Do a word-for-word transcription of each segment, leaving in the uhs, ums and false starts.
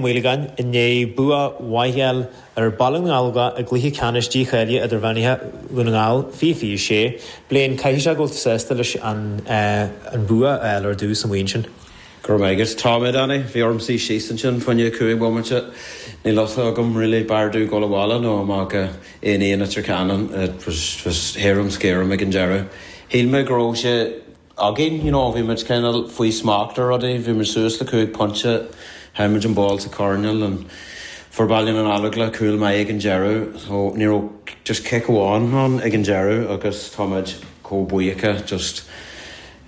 Maolagáin i ndiaidh bua mhaith a fháil ar Bhaile na nGallóglach i gcluiche ceannais dícháilithe idirmheánaithe Dhún na nGall fiche fiche sé. Blaine, caithfidh sé go bhfuil tú sásta leis an an bua a fháil ar dtús amuigh ansin. Go raibh maith agat. Tá mé Danny. Bhí orm suí síos ansin fá choinne cúig bhomaite. Níl fhios agam really b'fhearr domh dul abhaile nó amach go aon aon Leitir Ceanainn. It was was harum scarum ag an deireadh. Shíl mé go raibh sé againn, you know, bhí muid cineál faoi smacht ar rudaí, bhí muid suas le cúig pointe, chaill muid an ball sa choirnéal and fuair Baile na nGallóglach cúl maith ag an deireadh, so ní raibh just cic amháin ann ag an deireadh agus tá muid chomh buíoch just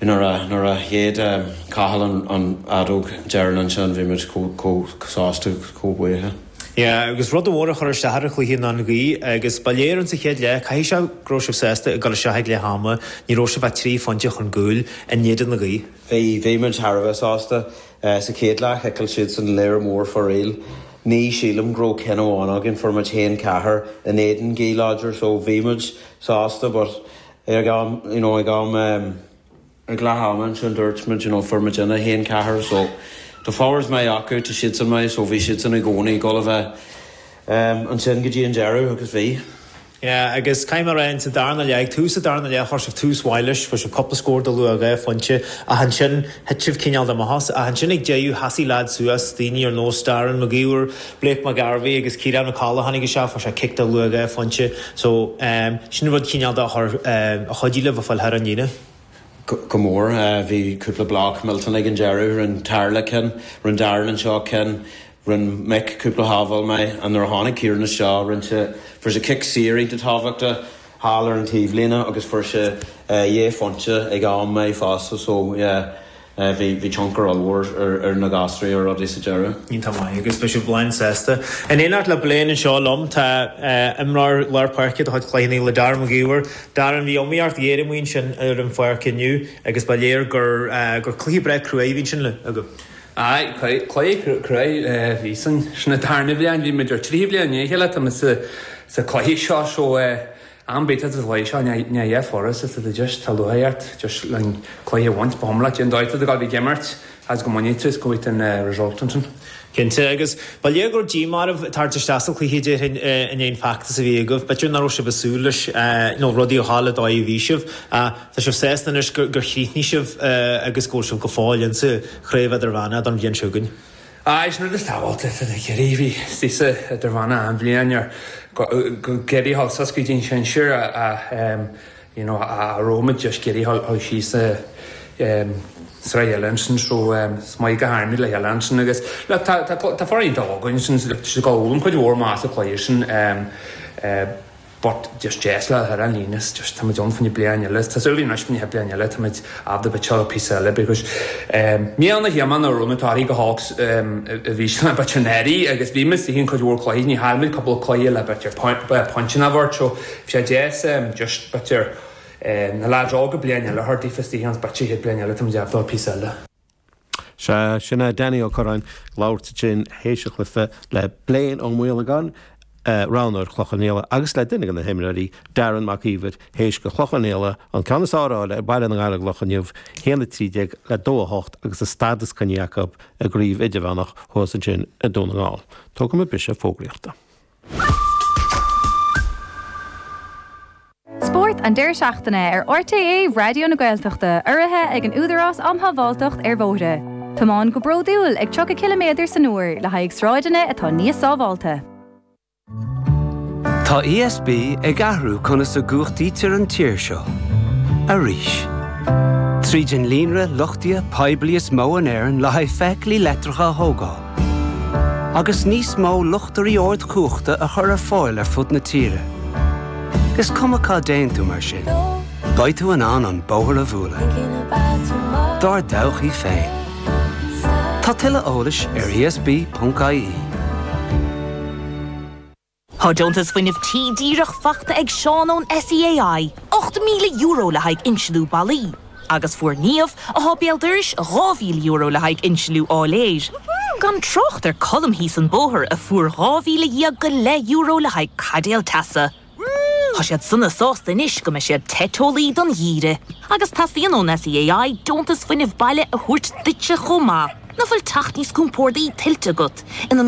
nuair a nuair a shéid Cathal an an fheadóg deireanach ansin bhí muid chomh chomh sásta chomh buíoch. Yeah, agus rud amháin a chur isteach ar an chluiche ná an ghaoth agus ba léir an sa chéad leath caithfidh sé go raibh sibh sásta ag dul isteach ag leath ama, ní raibh sibh ach trí phointe chun cúil in éadan na gaoithe. Bhí bhí muid thar a bheith sásta sa chéad leath chiceáil siad san léir mór foraoil. Ní sílim go raibh ceann amháin againn fuair muid haon ceathair in éadan gaoth láidir so bhí muid sásta but ag am you know ag am um, ag leath ama ansin dúirt muid you know fuair muid ina haon ceathair so tá forwards maith acu tá siad san maith so bhí siad san i gcónaí ag dul a bheith um, ansin go dtí an deireadh agus bhí. Yeah, agus caithfidh mé a rá sa darna leath tús sa darna leath chuir sibh tús mhaith leis fuair sibh cúpla scór de luath dhá phointe ach ansin thit sibh cineál amach as ach ansin ag deireadh sheasaigh leaid suas daoine ar nós Darren McGeever, Blake McGarvey agus Ciarán McCullough tháinig isteach fuair sé cic de luath dhá phointe so um, sin rud cineál de a chur um, a chuidigh libh a fáil thar an líne. go mór bhí cúpla block millteanach ag an deireadh rinne Tarla cinn rinne Darren anseo cinn rinne Mick cúpla sábháil maith an nuair a tháinig Ciarán anseo rinne sé fuair sé cic saor iontach tábhachtach thall ar an taobhlíne agus fuair sé dhá phointe ag am maith fosta so yeah bhí bhí tionchar ollmhór ar ar na gasraí ar rudaí sa deireadh. Iontach maith agus beidh sibh lán sásta. In éineacht le Blaine anseo liom tá imreoir lár páirce de chuid Chloich Cheann Fhaola Darren McGeever. Darren bhí iomaíocht ghéar amuigh ansin ar an pháirc inniu agus ba léir gur gur cluiche breá cruaidh a bhí ansin le agaibh. Aye, cluiche cruaidh bhí san sin an tarna bhliain bhí muid ar trí bhliain ní chéile tá sa sa cluiche seo so am bit sa chluiche seo ní dhé foras is a just tá luath just le cluiche bhaint b'homla an dóigh a bhí ag imirt as go mbainfidh tú go bhfuil an result ansin. Cinnte agus ba léir gur díomá oraibh tar isteach sa chluiche déarfainn in aon feachtas a bhí agaibh, b'fhéidir nach raibh sibh ag súil leis nó rudaí a tharla dóigh a bhí sibh. Tá sibh sásta anois gur chríochnaigh sibh agus go bhfuil sibh go fóill insa chraobh idirmheánach don bhliain seo chugainn. Aye, sin rud is tábhachtach tá Ciarraí bhí sa idirmheánach an bhliain ar go Ciarraí thall suas go dtí an sinsir a you know a raibh muid just Ciarraí thall síos sraith eile ansin so is maith go háirithe le chéile ansin agus look tá tá tá foireann againn sin go bhfuil cuid mhór más a chluiche sin but just deas le ar an líne just tá muid ann faoin bliain eile tá súil anois faoin bliain eile tá muid ábalta bit píosa eile because mí na híomáin a raibh táirí go Hawks a bhí sin bit an éirí agus bhí muid sin cuid mhór cluichí ní chaill muid cúpla cluiche le bit pointe na bhart so bhí sé deas just bit na lads óga bliain eile thart daofa hans bit sé bliain eile tá muid ábalta píosa eile. Se sin é Danny Ó Curráin labhairt sin théis an chluiche le Blaine Ó Maolagáin roghnóir Chloich Cheann Fhaola agus le duine de na himreoirí Darren Mac Íomhair théis do Chloich Cheann Fhaola an ceann is fearr a fháil ar Bhaile na nGallóglach inniu haon a trí déag le dó a hocht agus a stádas coinnithe acu i gcraobh idirmheánach thuas ansin i Dún na nGall. Tógfaidh muid briseadh fógraíochta. Spórt an deireadh seachtaine ar RTÉ Raidió na Gaeltachta urraithe ag an Údarás um Shábháilteacht ar Bhóithre. Tiomáin go bródúil ag tríocha ciliméadar san uair le haghaidh sráideanna atá níos sábháilte. Tá ESB ag athrú conas a gcumhachtaítear an tír seo. Arís. Tríd an líonra luchtaithe poiblí is mó in Éirinn le haghaidh feithiclí leictreacha a thógáil. Agus níos mó luchtairí ardchumhachta a chur ar fáil ar fud na tíre. Is cuma cá dtéann tú mar sin. Beidh tú in ann an bóthar a bhualadh. Dár dtodhchaí féin. Tá tuilleadh eolais ar ESB.ie. Tá deontas fuinnimh tí díreach faighte ag Seán ón SEAI, ocht míle euro le haghaidh insliú ballaí. Agus fuair Niamh atá béal dorais dhá mhíle euro le haghaidh insliú áiléir. Gan trácht ar Colm thíos an bóthar a fuair dhá mhíle dhéag go leith euro le haghaidh caidéal teasa. Tá siad sona sásta anois go mbeidh siad te teolaí don gheimhreadh, agus teastaíonn ón SEAI deontas fuinnimh baile a thabhairt duitse chomh maith. Nach bhfuil teach níos compordaí tuillte agat ina